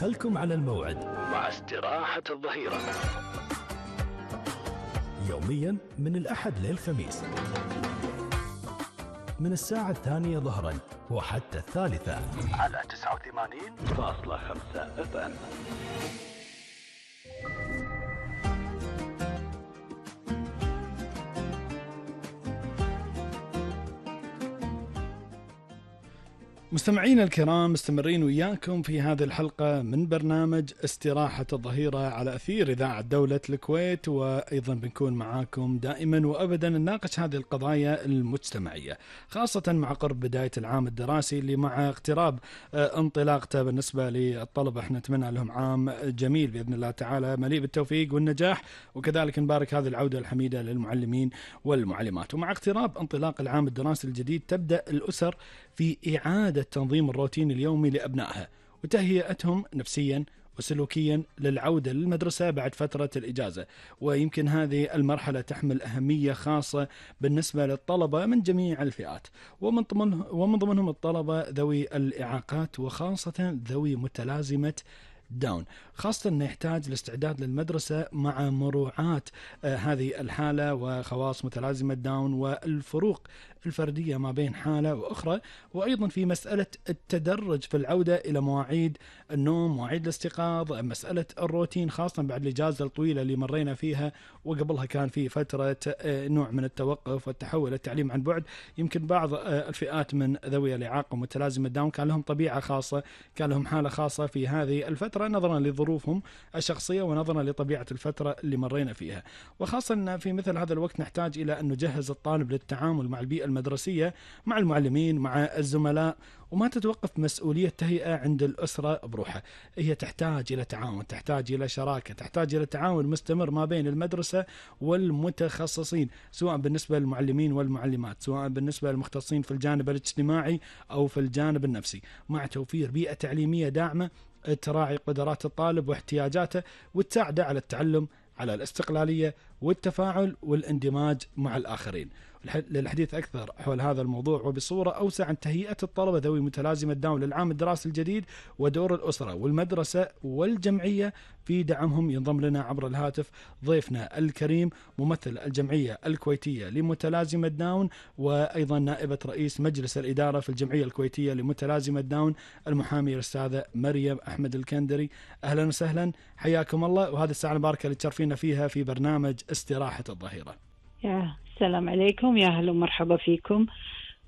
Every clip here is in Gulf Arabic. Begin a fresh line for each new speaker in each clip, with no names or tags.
خلكم على الموعد
مع استراحة الظهيرة
يوميا من الأحد للخميس من الساعة 2 ظهرا وحتى 3
على 89.5 FM.
مستمعين الكرام، مستمرين وياكم في هذه الحلقة من برنامج استراحة الظهيرة على أثير إذاعة دولة الكويت، وأيضا بنكون معاكم دائما وأبدا نناقش هذه القضايا المجتمعية، خاصة مع قرب بداية العام الدراسي اللي مع اقتراب انطلاقته بالنسبة للطلبة. احنا نتمنى لهم عام جميل بإذن الله تعالى مليء بالتوفيق والنجاح، وكذلك نبارك هذه العودة الحميدة للمعلمين والمعلمات. ومع اقتراب انطلاق العام الدراسي الجديد تبدأ الأسر في إعادة تنظيم الروتين اليومي لأبنائها وتهيئتهم نفسيا وسلوكيا للعودة للمدرسة بعد فترة الإجازة. ويمكن هذه المرحلة تحمل أهمية خاصة بالنسبة للطلبة من جميع الفئات، ومن ضمنهم الطلبة ذوي الإعاقات، وخاصة ذوي متلازمة داون، خاصة أنه يحتاج الاستعداد للمدرسة مع مراعاة هذه الحالة وخواص متلازمة داون والفروق الفردية ما بين حالة وأخرى، وأيضا في مسألة التدرج في العودة إلى مواعيد النوم، مواعيد الاستيقاظ، مسألة الروتين، خاصة بعد الإجازة الطويلة اللي مرينا فيها، وقبلها كان في فترة نوع من التوقف والتحول للتعليم عن بعد. يمكن بعض الفئات من ذوي الإعاقة ومتلازمة داون كان لهم طبيعة خاصة، كان لهم حالة خاصة في هذه الفترة نظرا لظروفهم الشخصية ونظرا لطبيعة الفترة اللي مرينا فيها. وخاصة أن في مثل هذا الوقت نحتاج إلى أن نجهز الطالب للتعامل مع البيئة المدرسية، مع المعلمين، مع الزملاء، وما تتوقف مسؤولية تهيئة عند الأسرة بروحها. هي تحتاج إلى تعاون، تحتاج إلى شراكة، تحتاج إلى تعاون مستمر ما بين المدرسة والمتخصصين، سواء بالنسبة للمعلمين والمعلمات، سواء بالنسبة للمختصين في الجانب الاجتماعي أو في الجانب النفسي، مع توفير بيئة تعليمية داعمة تراعي قدرات الطالب واحتياجاته وتساعده على التعلم، على الاستقلالية والتفاعل والاندماج مع الآخرين. للحديث أكثر حول هذا الموضوع وبصورة أوسع عن تهيئة الطلبة ذوي متلازمة داون للعام الدراسي الجديد ودور الأسرة والمدرسة والجمعية في دعمهم، ينضم لنا عبر الهاتف ضيفنا الكريم ممثل الجمعية الكويتية لمتلازمة داون، وأيضا نائبة رئيس مجلس الإدارة في الجمعية الكويتية لمتلازمة داون، المحامية الأستاذة مريم أحمد الكندري. أهلا وسهلا، حياكم الله، وهذه الساعة المباركة اللي تشرفينا فيها في برنامج استراحة الظهيرة.
السلام عليكم، يا أهلا ومرحبا فيكم،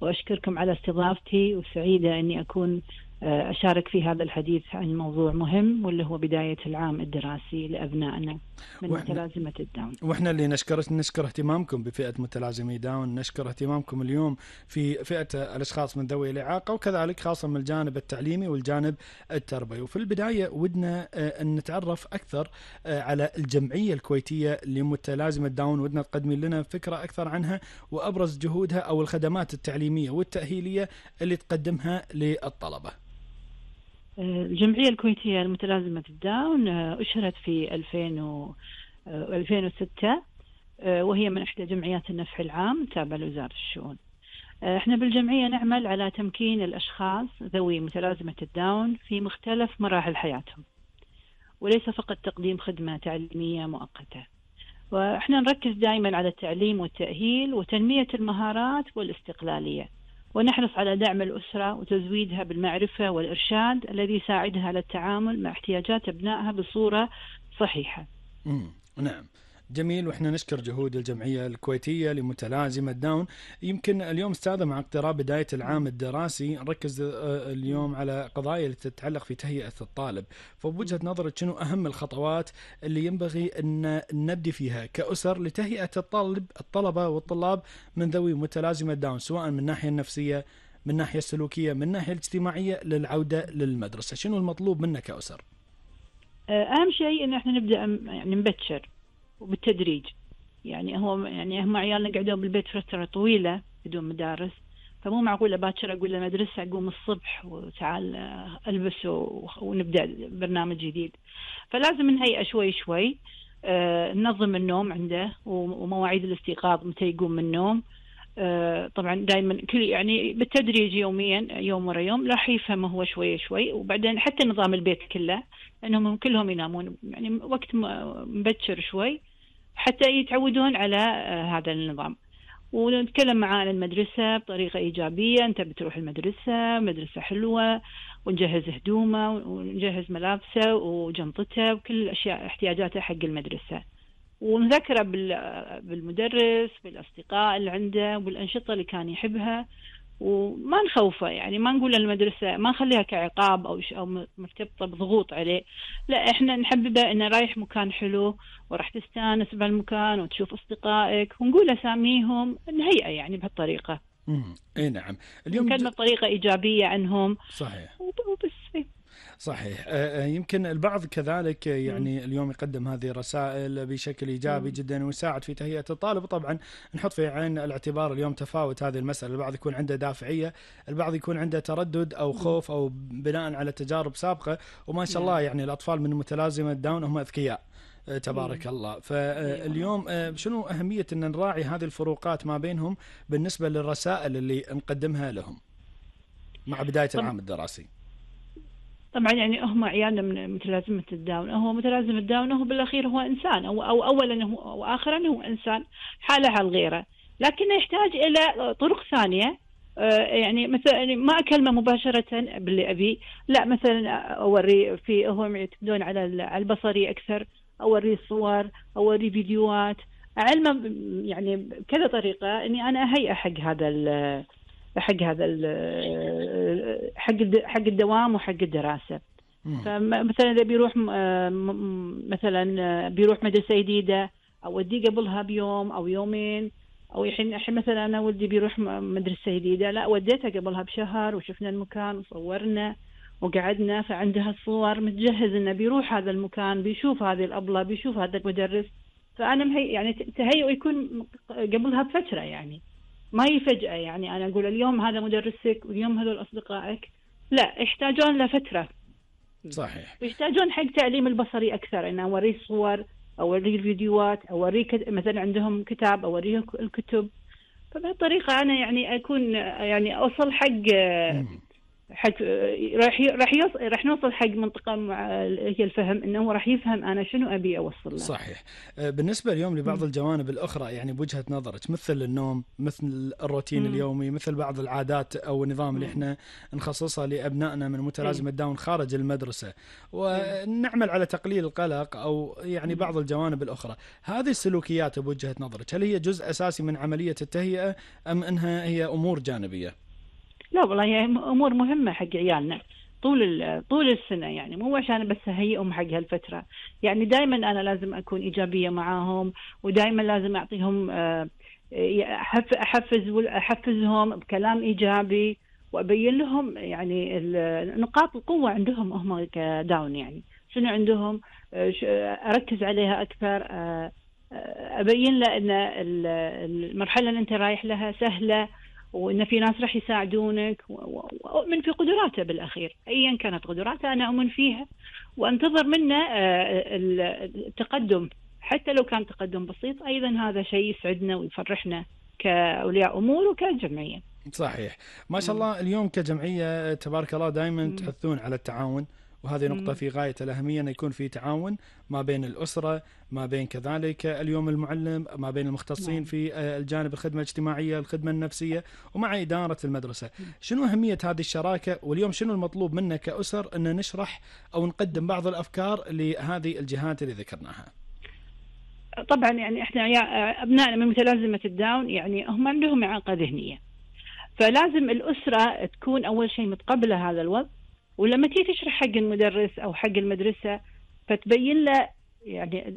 وأشكركم على استضافتي، وسعيدة أني أكون أشارك في هذا الحديث عن موضوع مهم واللي هو بداية العام الدراسي لأبنائنا من متلازمة الداون.
وإحنا اللي نشكر اهتمامكم بفئة متلازمي داون، نشكر اهتمامكم اليوم في فئة الأشخاص من ذوي الإعاقة، وكذلك خاصة من الجانب التعليمي والجانب التربوي. وفي البداية ودنا أن نتعرف أكثر على الجمعية الكويتية لمتلازمة داون، ودنا تقدمي لنا فكرة أكثر عنها وأبرز جهودها أو الخدمات التعليمية والتأهيلية اللي تقدمها للطلبة.
الجمعية الكويتية لمتلازمة الداون أشهرت في 2006، وهي من إحدى جمعيات النفع العام تابعة لوزارة الشؤون. احنا بالجمعية نعمل على تمكين الأشخاص ذوي متلازمة الداون في مختلف مراحل حياتهم، وليس فقط تقديم خدمة تعليمية مؤقتة. واحنا نركز دائما على التعليم والتأهيل وتنمية المهارات والاستقلالية، ونحرص على دعم الأسرة وتزويدها بالمعرفة والإرشاد الذي يساعدها على التعامل مع احتياجات أبنائها بصورة صحيحة.
نعم، جميل. وإحنا نشكر جهود الجمعية الكويتية لمتلازمة داون. يمكن اليوم أستاذة مع اقتراب بداية العام الدراسي نركز اليوم على قضايا اللي تتعلق في تهيئة الطالب، فبوجهة نظرك شنو أهم الخطوات اللي ينبغي أن نبدي فيها كأسر لتهيئة الطلبة والطلاب من ذوي متلازمة داون، سواء من الناحية النفسية، من الناحية السلوكية، من الناحية الاجتماعية، للعودة للمدرسة؟ شنو المطلوب منا كأسر؟
أهم شيء إن احنا نبدأ يعني نبتشر وبالتدريج. يعني هم عيالنا قعدوا بالبيت فترة طويلة بدون مدارس، فمو معقول باكر أقول للمدرسة أقوم الصبح وتعال ألبس ونبدأ برنامج جديد. فلازم نهيئة شوي شوي، ننظم النوم عنده ومواعيد الاستيقاظ متى يقوم من النوم، طبعا دائما كل يعني بالتدريج يوميا يوم ورا يوم راح يفهم هو شوي شوي. وبعدين حتى نظام البيت كله انهم كلهم ينامون يعني وقت مبكر شوي حتى يتعودون على هذا النظام. ونتكلم معاه عن المدرسة بطريقة إيجابية، أنت بتروح المدرسة، مدرسة حلوة، ونجهز هدومه ونجهز ملابسه وجنطته وكل الأشياء احتياجاته حق المدرسة، ونذكره بالمدرس بالأصدقاء اللي عنده والأنشطة اللي كان يحبها، وما نخوفه يعني ما نقول المدرسة ما نخليها كعقاب أو مرتبطة بضغوط عليه، لا إحنا نحببه إنه رايح مكان حلو وراح تستانس بهالمكان وتشوف أصدقائك ونقول أساميهم نهيئة يعني بهالطريقة.
اي نعم. اليوم
نكلم بطريقة إيجابية عنهم.
صحيح
وبس.
صحيح. يمكن البعض كذلك يعني اليوم يقدم هذه الرسائل بشكل إيجابي جدا ويساعد في تهيئة الطالب. طبعا نحط في عين الاعتبار اليوم تفاوت هذه المسألة، البعض يكون عنده دافعية، البعض يكون عنده تردد أو خوف أو بناء على تجارب سابقة. وما شاء الله يعني الأطفال من متلازمة داون هم أذكياء تبارك الله. فاليوم شنو أهمية أن نراعي هذه الفروقات ما بينهم بالنسبة للرسائل اللي نقدمها لهم مع بداية العام الدراسي؟
طبعا يعني هم عيالنا من متلازمة الداون، هو متلازم الداون هو بالأخير هو إنسان أو أولا هو وآخرا هو إنسان حالة على غيره، لكنه يحتاج إلى طرق ثانية. يعني مثلا ما أكلمه مباشرة باللي أبي، لا مثلا أوري في هم يعتمدون على البصري أكثر، أوري صور أوري فيديوهات علمه يعني بكذا طريقة إني أنا أهيئ حق هذا حق الدوام وحق الدراسة. فمثلا إذا بيروح مثلا بيروح مدرسة جديدة أوديه قبلها بيوم أو يومين، أو الحين مثلا أنا ولدي بيروح مدرسة جديدة، لا وديته قبلها بشهر وشفنا المكان وصورنا وقعدنا، فعندها الصور متجهز إنه بيروح هذا المكان بيشوف هذه الأبلة بيشوف هذا المدرس. فأنا يعني تهيئ يكون قبلها بفترة يعني ما يفجأة يعني أنا أقول اليوم هذا مدرسك واليوم هذول أصدقائك، لا يحتاجون لفترة.
صحيح.
يحتاجون حق تعليم البصري أكثر، إن أوريه صور أوريه الفيديوهات أوريه مثلا عندهم كتاب أوريه الكتب. فبهالطريقة أنا يعني أكون يعني أوصل حق راح نوصل حق منطقة هي الفهم، انه هو راح يفهم انا شنو ابي اوصل له.
صحيح. بالنسبة اليوم لبعض الجوانب الاخرى يعني بوجهة نظرك، مثل النوم، مثل الروتين اليومي، مثل بعض العادات او النظام اللي احنا نخصصها لابنائنا من متلازمة داون خارج المدرسة، ونعمل على تقليل القلق او يعني بعض الجوانب الاخرى، هذه السلوكيات بوجهة نظرك هل هي جزء اساسي من عملية التهيئة ام انها هي امور جانبية؟
لا والله هي امور مهمه حق عيالنا طول السنه، يعني مو عشان بس اهيئهم حق هالفتره. يعني دائما انا لازم اكون ايجابيه معاهم، ودائما لازم اعطيهم احفزهم بكلام ايجابي، وابين لهم يعني نقاط القوه عندهم هم كداون، يعني شنو عندهم اركز عليها اكثر. ابين له ان المرحله اللي انت رايح لها سهله، وإن في ناس راح يساعدونك، وأؤمن في قدراته بالأخير أيا كانت قدراته أنا أؤمن فيها، وأنتظر منه التقدم حتى لو كان تقدم بسيط. أيضا هذا شيء يسعدنا ويفرحنا كأولياء أمور وكجمعية.
صحيح. ما شاء الله اليوم كجمعية تبارك الله دائما تحثون على التعاون، وهذه نقطة في غاية الأهمية أن يكون في تعاون ما بين الأسرة، ما بين كذلك اليوم المعلم، ما بين المختصين في الجانب الخدمة الاجتماعية الخدمة النفسية، ومع إدارة المدرسة. شنو أهمية هذه الشراكة؟ واليوم شنو المطلوب منا كأسر أن نشرح أو نقدم بعض الأفكار لهذه الجهات اللي ذكرناها؟
طبعا يعني احنا أبنائنا من متلازمة الداون يعني هم عندهم إعاقة ذهنية، فلازم الأسرة تكون أول شيء متقبلة هذا الوضع، ولما تيجي تشرح حق المدرس أو حق المدرسة فتبين له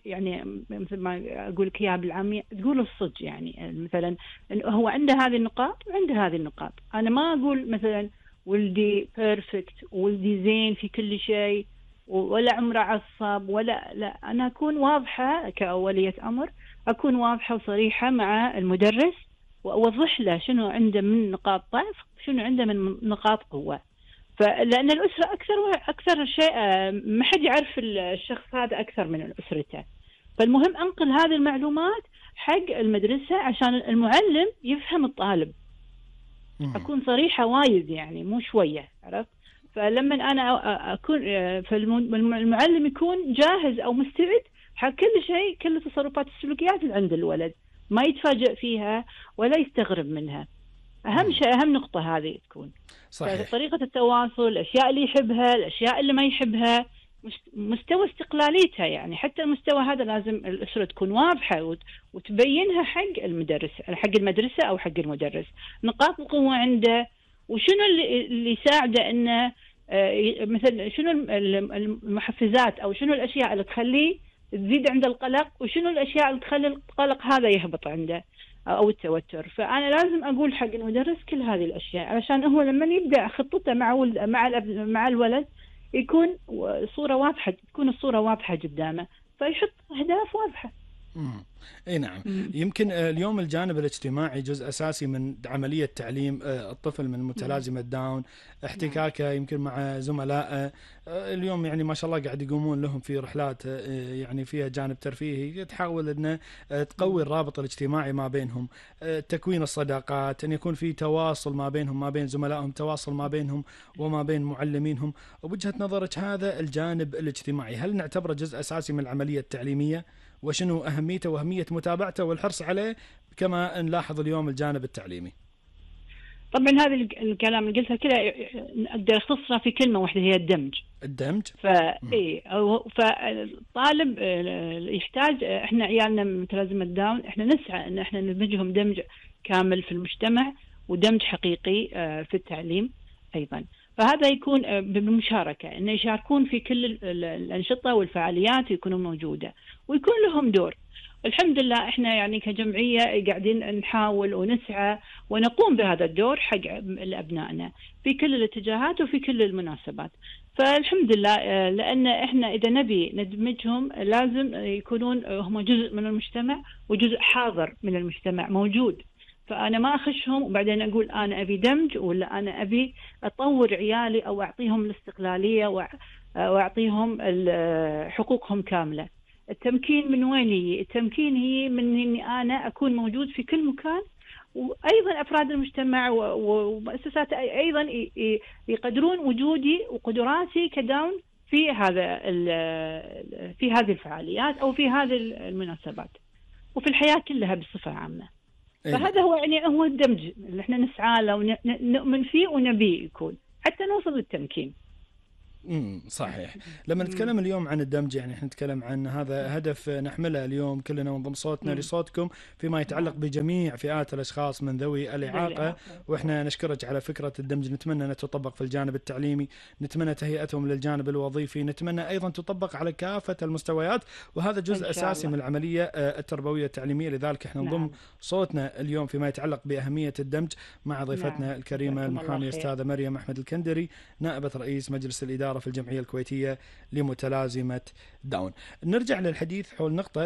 يعني مثل ما أقول لك إياها بالعامية، تقول الصدق يعني مثلا إنه هو عنده هذه النقاط وعنده هذه النقاط. أنا ما أقول مثلا ولدي بيرفكت ولدي زين في كل شيء ولا عمره عصب لا، أنا أكون واضحة كأولية أمر، أكون واضحة وصريحة مع المدرس وأوضح له شنو عنده من نقاط ضعف شنو عنده من نقاط قوة. فلأن الأسرة أكثر شيء ما حد يعرف الشخص هذا أكثر من أسرته، فالمهم أنقل هذه المعلومات حق المدرسة عشان المعلم يفهم الطالب. أكون صريحة وايد يعني مو شوية، عرفت؟ فلما أنا أكون فالمعلم يكون جاهز أو مستعد حق كل شيء، كل التصرفات السلوكيات اللي عند الولد ما يتفاجئ فيها ولا يستغرب منها. أهم شيء، أهم نقطة هذه تكون
صحيح.
طريقة التواصل، الأشياء اللي يحبها، الأشياء اللي ما يحبها، مستوى استقلاليتها. يعني حتى المستوى هذا لازم الأسرة تكون واضحة وتبينها حق المدرس، حق المدرسة أو حق المدرس، نقاط القوة عنده وشنو اللي يساعده إنه مثلا شنو المحفزات أو شنو الأشياء اللي تخليه تزيد عنده القلق، وشنو الأشياء اللي تخلي القلق هذا يهبط عنده أو التوتر. فأنا لازم أقول حق المدرس كل هذه الأشياء علشان هو لما يبدأ خطته مع الولد يكون صورة واضحة، تكون الصورة واضحة قدامه، فيحط أهداف واضحة.
اي نعم. يمكن اليوم الجانب الاجتماعي جزء اساسي من عمليه تعليم الطفل من متلازمه داون، احتكاكه يمكن مع زملائه. اليوم يعني ما شاء الله قاعد يقومون لهم في رحلات يعني فيها جانب ترفيهي، تحاول انه تقوي الرابط الاجتماعي ما بينهم، تكوين الصداقات، ان يكون في تواصل ما بينهم ما بين زملائهم، تواصل ما بينهم وما بين معلمينهم. وبوجهه نظرك هذا الجانب الاجتماعي هل نعتبره جزء اساسي من العمليه التعليميه؟ وشنو أهميته وأهمية متابعته والحرص عليه كما نلاحظ اليوم الجانب التعليمي؟
طبعا هذا الكلام اللي قلته كله أقدر أختصره في كلمة واحدة، هي الدمج. فالطالب يحتاج، إحنا عيالنا متلازمة داون إحنا نسعى إن إحنا ندمجهم دمج كامل في المجتمع ودمج حقيقي في التعليم أيضا. فهذا يكون بالمشاركة، إنه يشاركون في كل الأنشطة والفعاليات ويكونوا موجودة ويكون لهم دور. الحمد لله إحنا يعني كجمعية قاعدين نحاول ونسعى ونقوم بهذا الدور حق أبنائنا في كل الاتجاهات وفي كل المناسبات. فالحمد لله، لأن إحنا إذا نبي ندمجهم لازم يكونون هم جزء من المجتمع وجزء حاضر من المجتمع موجود. فأنا ما أخشهم وبعدين أقول أنا أبي دمج ولا أنا أبي أطور عيالي أو أعطيهم الاستقلالية وأعطيهم حقوقهم كاملة. التمكين من وين هي؟ التمكين هي من إني أنا أكون موجود في كل مكان، وأيضا أفراد المجتمع ومؤسسات أيضا يقدرون وجودي وقدراتي كداون في هذه الفعاليات أو في هذه المناسبات وفي الحياة كلها بصفة عامة. فهذا هو يعني هو الدمج اللي احنا نسعى له ونؤمن فيه ونبيه يكون حتى نوصل للتمكين.
صحيح. لما نتكلم اليوم عن الدمج يعني احنا نتكلم عن هذا هدف نحمله اليوم كلنا ونضم صوتنا لصوتكم فيما يتعلق بجميع فئات الأشخاص من ذوي الإعاقة. واحنا نشكرك على فكرة الدمج، نتمنى أن تطبق في الجانب التعليمي، نتمنى تهيئتهم للجانب الوظيفي، نتمنى أيضا تطبق على كافة المستويات، وهذا جزء أساسي من العملية التربوية التعليمية. لذلك احنا نضم صوتنا اليوم فيما يتعلق بأهمية الدمج مع ضيفتنا الكريمة المحامية أستاذة مريم أحمد الكندري، نائبة رئيس مجلس الإدارة في الجمعية الكويتية لمتلازمة داون. نرجع للحديث حول نقطة